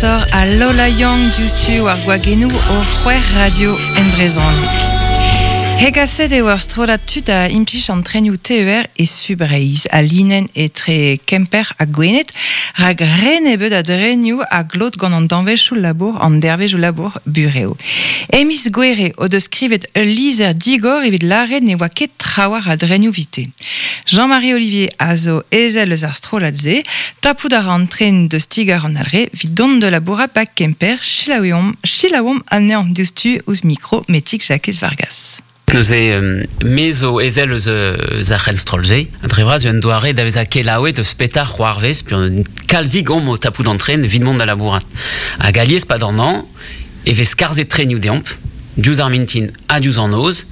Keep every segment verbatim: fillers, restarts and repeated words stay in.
Kantor a Lola Young diouzhtu war gwagennoù o c'hwec'h radio en brezhoneg. Hegaset eo ur strollad tud a implij an trenioù T E R e Subreizh, a linenn etre Kemper ha Gwened, rak re nebeut a drenioù a glot gant an danvezioù labour an dervezioù labour bureo. E miz Gouere o deus skrivet ul lizher digor evit lâret ne oa ket trawalc'h a drenioù vite. Jean-Marie Olivier a zo ezel eus ar strollad-se, tapout a ra an tren deus ti-gar an Alre evit dont da labourat ba Kemper, selaouomp, selaouomp anezhañ diouzhtu ouzh mikro Metig Jakez Vargas. Neuze, euh, me zo ezel eus eus ar c'henstroll-se. Dre vras un doare da vezañ kelaouet eus petar c'hoarvez, puis un kalzig omp o tapout an tren evit mont da labourat. Hag alies pa d'an an, e vez skarzhet trenioù deomp, diouzh ar mintin ha diouzh an noz,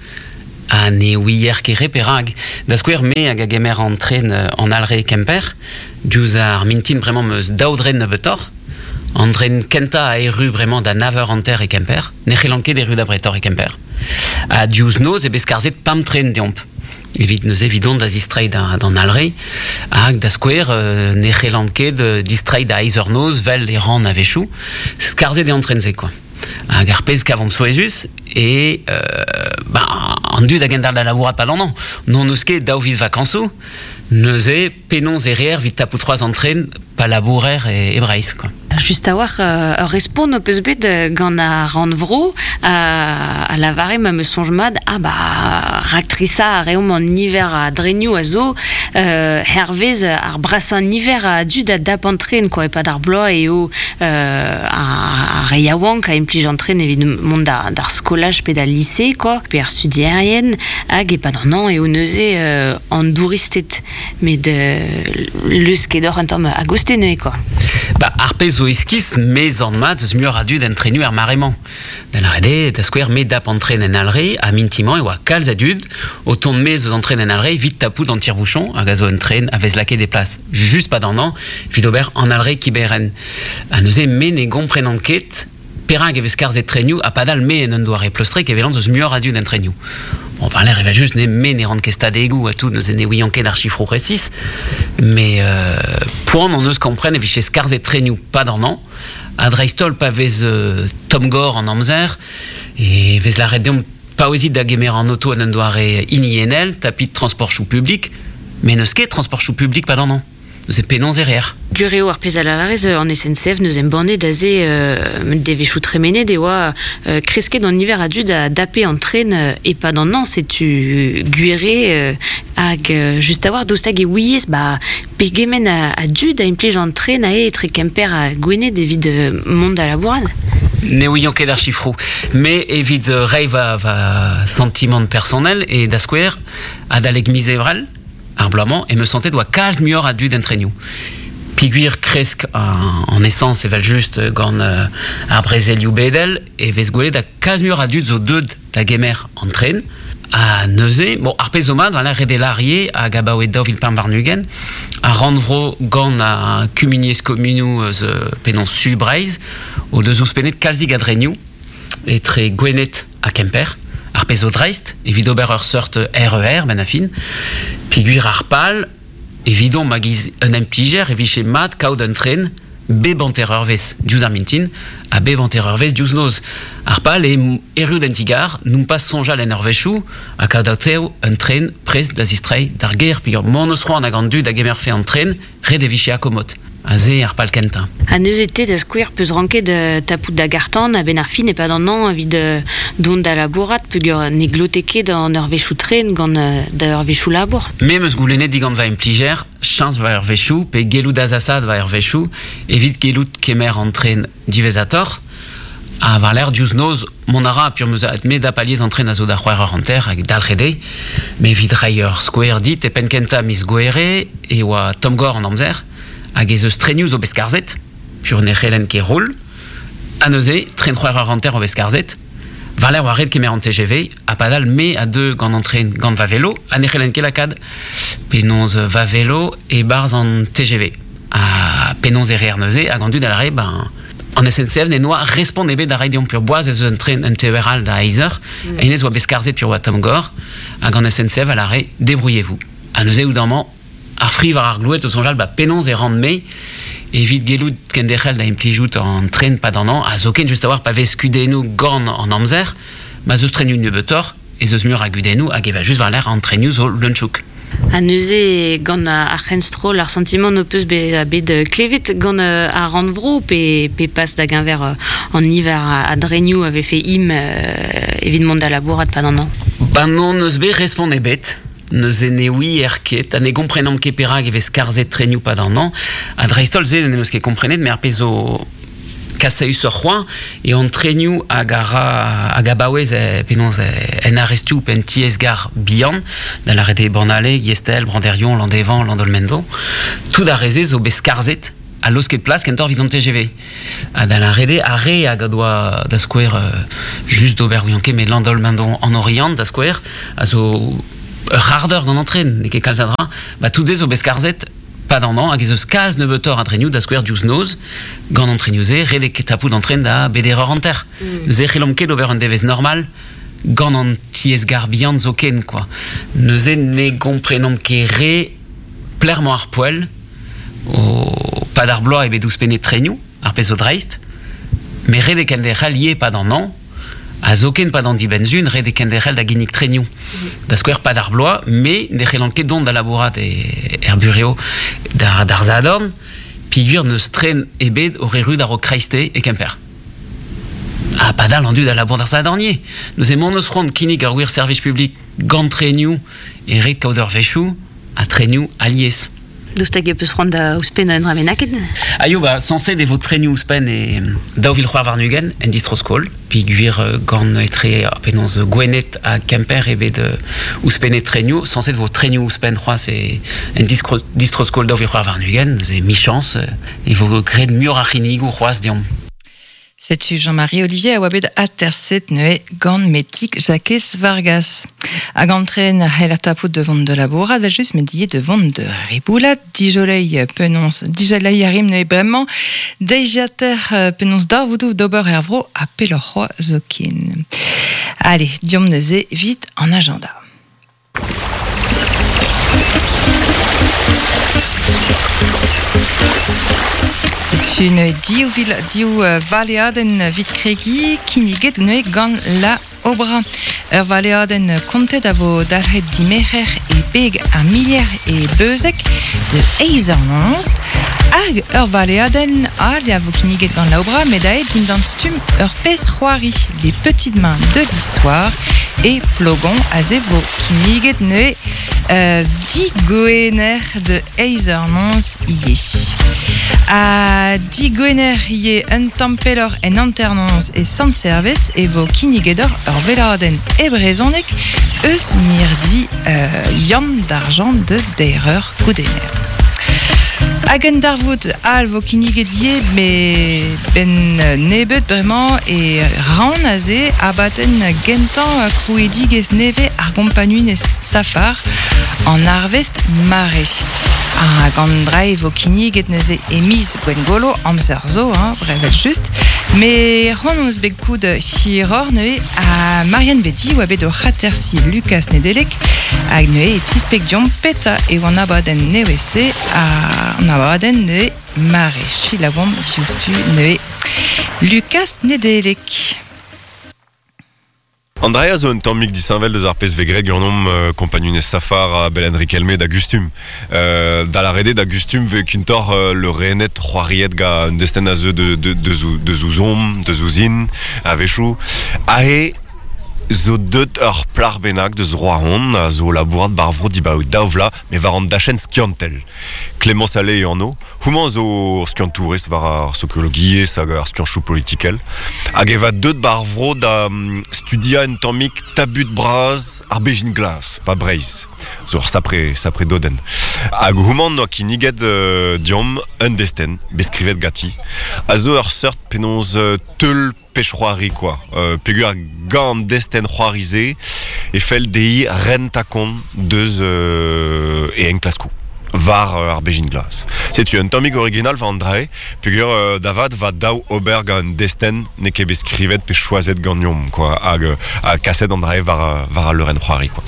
ha ne ouier ket re perak. Da skouer, me hag a gemer an tren an Alre Kemper, diouzh ar mintin bremañ meus daou dren nebeutoc'h, an dren kentañ a erru bremañ da nav eur hanter e Kemper, ne c'hellan ket erru da bretor e Kemper. Ha diouzh noz e bez skarzhet pemp tren deomp. Evit neuze evidon da zistreiñ da, d'an Alre, hag da skouer, euh, ne c'hellan ket, euh, distreiñ da eizh eur noz vel e ran a-wechoù, skarzhet eo an tren-se, quoi. Hag ar pezh kavomp souezhus e, euh, ben, an dud a gendalc'h da labourat pa l'an an. N'hon eus ket daou viz vakansoù, neuze penaos e reer evit tapout c'hoazh an tren pa labourer e, e Breizh, quoi. Just a-walc'h, euh, ur respont ho peus bet, euh, gant ar rannvro, a, a lavare ma me soñj mat, ah ba, raktrisa a reomp an niver a drenioù a zo, euh, hervez ar brasañ niver a dud a dap an tren, quoi, e-pad ar bloaz eo, euh, ar, ar re yaouank a implij an tren evit mont da, d'ar skolaj pe d'al lise, quoi, pe ar studierien, hag e-pad an an eo neuze, euh, an douristed, met, euh, leus ket oc'h un tamm a-goste neuze, quoi. Ba, ar pezh zo iskis, mez an mat eus muioc'h a dud en trenu ar mare-mañ. Da lâret eo, da skouer, me dap an tren en Alre, ha mintimañ e oa kalz a dud, o tont mez eus an tren en Alre, evit tapout an tire-bouchon, hag a zo un tren a vez lakaet e plas just pa d'an an, evit ober an Alre Kiberen. Ha neuze, me ne gomprenan ket perak e vez skarzhet trenioù, ha padal me en un doare pleustrek evel eus muioc'h a dud en trenioù. Bon, enfin, l'air evel just, ne, me ne ran ket stadegoù ha tout, neuze ne ouian ket ar chifroù resis, mais, euh, poan on eus kompren e vije skarzhet trenioù pa d'an an, ha dreist-holl pa vez, euh, tomm gor an amzer, e vez lâret deomp paouezit da gemer an auto en un doare hiniennel, tapit transportioù publik, mais n'eus ket transportioù publik pa d'an an. Neuze penaos e reer. Gwir eo ar pezh a lavarez, euh, an S N C F neus embannet aze, euh, devezhioù tremenet e oa, euh, kresket an niver a dud a dape an tren, euh, e-pad an an, setu gwir eo, euh, hag, euh, just a-walc'h daoust hag e ouiez, ba, pegement a, a dud a implij an tren a etre Kemper ha Gwened evit, euh, mont da labourat. Ne ouian ket ar chifroù, mais evit, euh, reiñ va, va sentiment personnel e da skouer adalek miz Ebrel, ar bloaz-mañ, e me sentais doa kalz muioc'h a dud en trenioù. Pigwir kresk en, en essence evel just gant, euh, ar brezelioù bedel, e vez gwelet a kalz muioc'h a dud zo deut da gemer an tren, ha neuze, bon, ar pezh zo mat, voilà, ret eo lârier hag abaoe daou vil pemp warn-ugent, ar rannvro gant ar kumuniezh komunoù eus, euh, penaos Su Breizh, o deus ouzhpennet kalzig a drenioù etre Gwened ha Kemper, ar pezh zo dreist, evit ober ur seurt R E R, ben a fin, pigwir ar pal, evidon ma giz un implijer e vije mat kaout un tren bep hanter eurvezh diouzh ar mintin ha bep hanter eurvezh diouzh noz. Ar pal e erru d'an ti-gar, n'omp pas soñjal en eurvezhioù ha kaout atav un tren prest da zistreiñ d'ar gêr, peogwir mont eus c'hoant hag an dud a gemerfe an tren, ret e vije akomod. Aze ar pal kentañ. Ha neuze te da skouer peus ranket, euh, tapout da gartan a-benn ar fin e-pad an an evit, euh, dont da labourat peogwir ne glote ket an eurvezhioù tren gant, euh, da eurvezhioù labour. Me 'm eus goulennet digant va implijer, chañs va eurvezhioù pe gellout azasat va eurvezhioù evit gellout kemer an tren diwezhatoc'h. Ha war l'air diouzh noz, mont a ra, pur 'm eus me da paliez an tren a zo da c'hwec'h eur hanter hag dalc'het eo. Me evit reiñ ur skouer dit e penn kentañ miz Gouere e oa tomm-gor an amzer, hag ez eus trenioù zo bet skarzhet, pur ne c'hellen ket roll, ha neuze, tren c'hwec'h eur hanter o bet skarzhet, war l'air oa ret kemer an T G V, ha padal me a deu gant an tren gant va velo, ha ne c'hellen ket lakaat penaos va velo e-barzh an T G V. Ha penaos e reer neuze, hag an dud a lâre, ben, an S N C F ne noa respont ebet da reiñ deomp pur boaz ez eus un tren un T E R all da eizh eur, Mm. hennezh oa bet skarzhet pur oa tomm-gor, hag an S N C F a lâre débrouillez-vous. Ha neuze oudamañ, ar fri war ar gloued o soñjal, ba penaos e ran me Evit gellout kenderc'hel da implijout an tren pad an an, a zoken just a war pa vez kudennoù gant an amzer, ma zeus trenioù nebeutoc'h, ez eus mur a gudennoù hag evel just war l'air an trenioù zo leun-chouk. Ha neuze gant ar c'henstrol ar sentiment no peus bet, bet klevet gant ar rannvro pe, pe pas da geñver an niver a drenioù a vefe im evit mont da labourat pad an an. Ba non neus bet respont ebet. Neuze ne oui er ket, ha ne gomprenomp ket perak e vez karzet trenioù pad an an. Ha dreist-holl se ne meus ket komprenet, mais ar pezh zo kasaüs ur c'hoant, e an trenioù hag a ra hag a baouez e, penaos en arestioù pe en tiez-gar bihan, da lâret eo Bannale, Giestel, Branderion, Landévan, Landolmendo, tout ar re-se zo bet skarzhet a laosket plas kentoc'h evit an T G V. Ha da lâret eo ar re hag a doa da skouer just d'ober ouian ket, met Landolmendo en Oriant da skouer, a zo ur c'hardeur gant an tren, n'eo ket kalz a dra, ba tout se zo bet skarzhet pad an an, hag ez eus kalz nebeutoc'h a trenioù da skouer diouzh noz, gant an trenioù-se, ret eo ket tapout an tren da beder eur hanter. Mm. Neuze c'hellomp ket ober un devezh normal gant an tiez-gar bihan zoken, quoi. Neuze ne gomprenomp ket re plermañ ar poell, o pad ar bloaz eo bet ouzhpennet trenioù, ar pezh zo dreist, met ret eo kenderc'hel ivez pad an an, a zoken pad an dibenn-sun, ret eo kenderc'hel da ginnig trenioù. Da skouer pad ar bloaz, me ne c'hellan ket dont da labourat e, er bureo d'ar, d'ar Zadorn, peogwir n'eus tren ebet o erru d'ar o kreiste e Kemper. Ha padal an dud a labour d'ar Zadornier. Neuze mont eus c'hoant kinnig ur gwir servij publik gant trenioù e ret kaout ur wechoù ha trenioù alies. Daoust hag e peus c'hoant da ouzhpenn un dra bennaket? Ah yo, ba, sañset e vo trenioù ouzhpenn e daou vil c'hwec'h warn-ugent en distro-skol, peogwir gant etre penaos Gwened ha Kemper eo bet ouzhpennet trenioù, sañset vo trenioù ouzhpenn c'hoazh e en distro-skol daou vil c'hwec'h warn-ugent, neuze michañs e vo graet muioc'h a c'hinnigoù c'hoazh deomp. Setu Jean-Marie Olivier a oa bet aterset neuze gant metik Jakez Vargas. Hag an tren a c'hell ar tapout de vont de labourat, vel just met die de vont de riboulat, dijolei penons, dijolei a rim neuze bremañ, deiziater penons darvoudoù d'ober er vro ha pelloc'h c'hoazh zoken. Allez, diomp neuze vit an agenda. Tu ne div vil div valeadenn vit kregi kinniget neuze gant la obra. Ur valeadenn kontet a vo dalc'het dimerc'her e beg ar milier e beuzek de eizh eur noz. Hag ur valeadenn all a vo kinniget gant la obra met aet dindan stumm ur pezh c'hoari les petites mains de l'histoire e plogon a ze vo kinniget neuze euh, digoener de eizh eur noz ivez. A digoener ivez un tamm pelloc'h en hanternoz e Sant-Servez e vo kinnigedor ur veladenn e brezhoneg eus mirdi euh, Yann d'Argent de deir goudener. Hag un darvoud all vo kinniget ivez me ben nebeut bremañ e ran aze abadenn gentañ krouidigezh nevez ar gompagnunezh Safar an arvest mare. Hag an dra e vo kinniget neuze e miz Gwengolo, amzer zo, hein, brevel just. Me c'hoant hon eus bet koud hiroc'h neuze a Marianne Vedi oa bet o c'hatersi Lucas Nedelec hag neuze e tispleg diomp peta e oan abadenn nevez-se a an abadenn neuze mare. Selaouomp diouzhtu neuze Lucas Nedelec. Andrea zo un tammig disheñvel deus ar pezh vez graet ganeomp euh, kompagnunezh Safar a Belen Riquelme da gustum. Euh, da la rede da gustum vez kentoc'h euh, le renet c'hoariet ga un destenn a zeu de, de, de, zou, de zouzom, de zouzin, a wechoù. Ahe zo deut ur plar bennak deus Roazhon a zo labourat bar vro dibaoe daou vloaz, met war an dachenn skiantel. Clémence Allais eo anv. Houmañ zo skiantourez war ar sokiologiezh hag ar skianchoù politikel. Hag e va deut bar vro da um, studia un tammig tabut bras ar bejin glas, pa Breizh. Zo ur sapre, sapre dodenn. Hag houmañ noa kinniget euh, diomp un destenn, bet skrivet gati. A zo ur seurt penaos euh, teul pech c'hoari quoi. Euh, peogwir gant destenn c'hoari-se e fell dezhi rentañ kont deus euh, e enklaskoù war euh, ar bejin glas. Setu un tammig original war an dra-se, peogwir euh, da vat va daou ober gant un destenn n'eo ket bet skrivet pe choazet ganeomp quoi, hag, hag kaset an dra-se war, war al leurenn c'hoari quoi.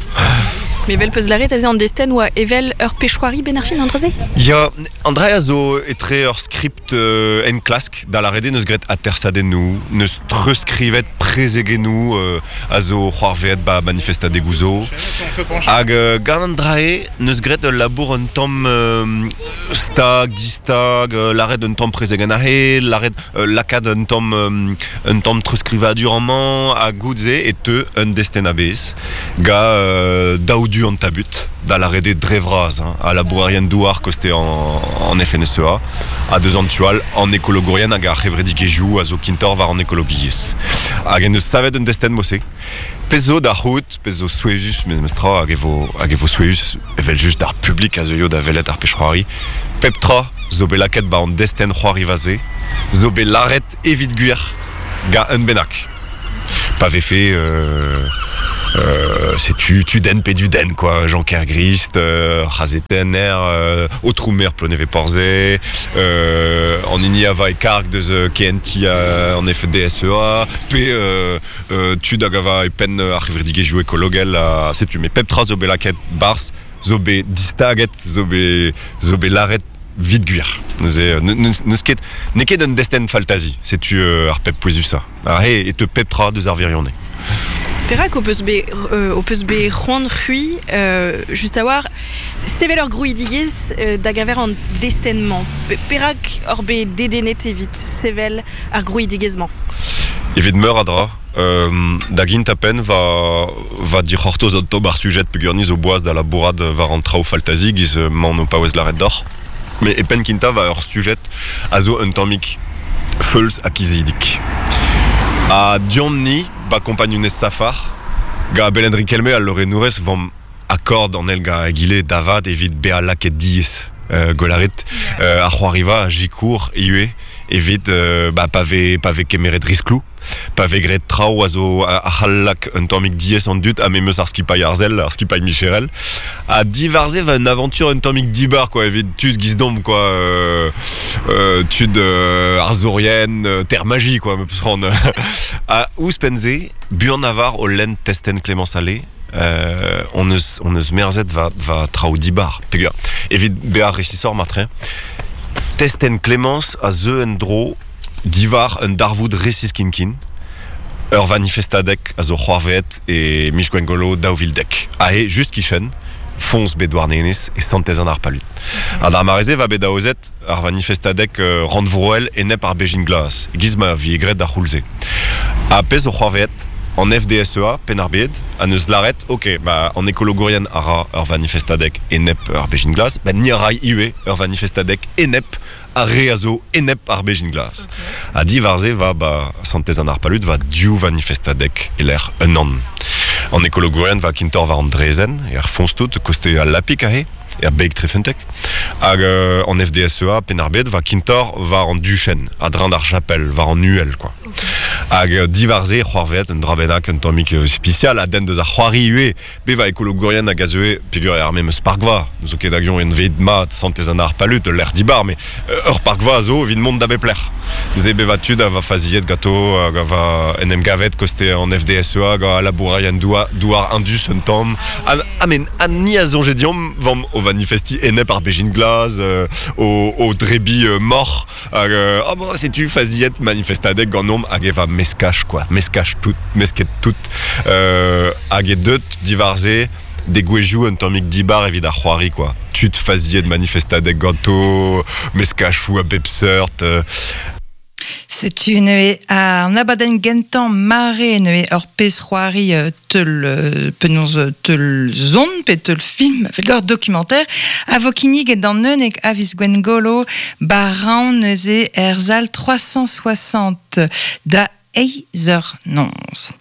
Me vel peus laret aze an desten oa evel ur pechouari ben ar fin an draze? Ya, an dra a zo etre ur script euh, en klask da la rede neus gret atersadennou, neus treuskrivet prezegennou euh, a zo c'hoarveet ba manifestadegou zo. Hag euh, gant an drae neus gret ul labour un tamm euh, stag, distag, euh, laret un tamm prezegen ahe, laret euh, lakad un tamm euh, un tamm treuskrivadur amañ ha goudze e teu un desten a-bez ga euh, daoudu an tabut da la rede drevraz hein, a labourerien douar koste en, en F N S E A a deus an tual an ekologorien hag ar c'hevredigezhioù a zo kintor war an ekologiezh. Hag en eus savet un desten mose. Pezh zo da c'hout, pezh zo souezhus memestra hag e vo, hag e vo souezhus evel just d'ar publik a zeuio da welet ar pech c'hoari. Pep tra zo bet lakaet ba an desten c'hoari vaze, zo bet laret evit gwir ga un bennak. Pa vefe euh, euh, c'est tu, tu den pe du den quoi, Jean Kergrist, euh, Razetener, euh, Otroumer Ploneve Porze, euh, en ini ava e karg deus K N T euh, en F D S E A, pe euh, euh, tud hag ava e penn ar c'hevredigezhioù ekologel, euh, setu me pep tra zo bet lakaet barz, zo bet distaget, zo bet, zo bet laret vit gwir. Neuze, n'eus ket, n'eo ket un desten faltazi, setu euh, ar pep pouezusa. Ah, he, e te pep tra deus ar virionne. Perak o peus bet, euh, o peus bet c'hoant c'hui, euh, just a war, sevel ur grouidigezh euh, da gaver an destenmañ. Perak ur bet dedennet evit sevel ar grouidigezh-mañ? Evit meur a dra, euh, da gint a penn va, va dic'hortoz an tamm ar sujet peogwir zo boaz da labourat war an traoù faltazi giz mañ o paouez laret d'or. Me e penn kinta va ur sujet a zo un tammig feuls ha kizidik. A diomp-ni, ba kompagnunez safar, ga Belen Riquelme al lorenourez vam akord an el ga egile davad evit bea laket diez euh, golaret euh, ar c'hoariva a jikour iue evit euh, ba pave, pave kemeret risklou, pave gret traoù a zo a c'hallak un tammig diez an dut ha memeus ar skipailh arzel, ar skipailh Micherel. A divarze va un aventure un tammig dibar quoi, evit tud giz-domp quoi, euh, euh, tud euh, arzorien, euh, terre magie quoi, me peus ran. A ouzhpenn-se, buan avar o lenn testen Clémence Allais, euh, on eus, on eus merzet va, va traoù dibar. Peogwir, evit bezañ resisor martre, testen Clémence a zeu en dro divar un darvoud resis kinkin, ur vanifestadek a zo c'hoarveet e Mich Gwengolo daou vil dek. Ahe, just kichen, foñs bet douarnenez e santez an ar palut. Ha d'ar mareze va bet aozet ar vanifestadek euh, rannvroel enep ar bejin glas, giz ma vi egret d'ar c'houlze. Ha pezh zo c'hoarveet an F D S E A, penn ar bed, a neus laret, ok, ba, an ekologorien a ra ur vanifestadek enep ar bejin glas, ba ni a rai iwe ur vanifestadek enep ar re a zo enep ar bejin glas. Okay. A di varze va ba santez an ar palut va diou vanifestadek eler un an. An ekologorien va kintor war an drezen, er foñs tout, koste al lapik ahe, er beg trefentek. Hag euh, an F D S E A, penn ar bed, va kintor war an duchen, a drañ d'ar chapel, war an uhel, quoi. Okay. Hag euh, divarze, c'hoarveet, un dra bennak, un tammig spesial, a den deus ar c'hoari ue, be va ekologorien hag a zeue, peogwir ar memes parkva, n'eus ket hag en veid mat, santez an ar palut, l'er dibar, mais euh, ur parkva a zo evit mont da bep lec'h. Ze be va tud a va faziet gato, hag a va en em gavet koste an F D S E A, hag a labourerien douar, douar indus un tamm. Ha, ha men, ha ni a zonje diomp, vam o vanifesti enep ar bejin glas, euh, o, o drebi euh, mor, hag, euh, ah bon, setu faziet manifestadek ganomp hag e va meskach, quoi, meskach tout, mesket tout, euh, hag e deut divarze, degouezhioù un tammig dibar evit ar c'hoari, quoi. Tud faziet manifestadek ganto, meskachou a bep seurt, euh, Setu neue an abadenn gentañ mare neue ur pezh c'hoari teul penaos teul zon pe teul film fel d'ur documentaire a vo kinniget d'an unnek a viz Gwengolo baran neuze er zal trois cent soixante da eizh eur noz.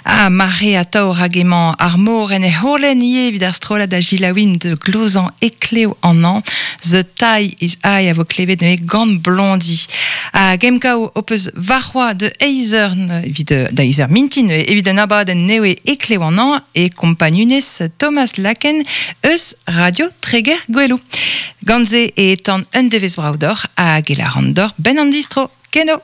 A mare a taor hag emañ ar mor en e holen ivez evit ar strollad a gilaouin de glozan ekleo an an, The Tie is High a vo klevet neuze gant Blondie. A gemkao o peus varc'hoa de eizh eur evit da eizh eur mintin evit an abadenn newe ekleo an an e kompagnunez Thomas Laken eus Radio Treger Gwelou. Gant se e tan un devezh brav d'or hag e laran d'or ben an distro. Keno!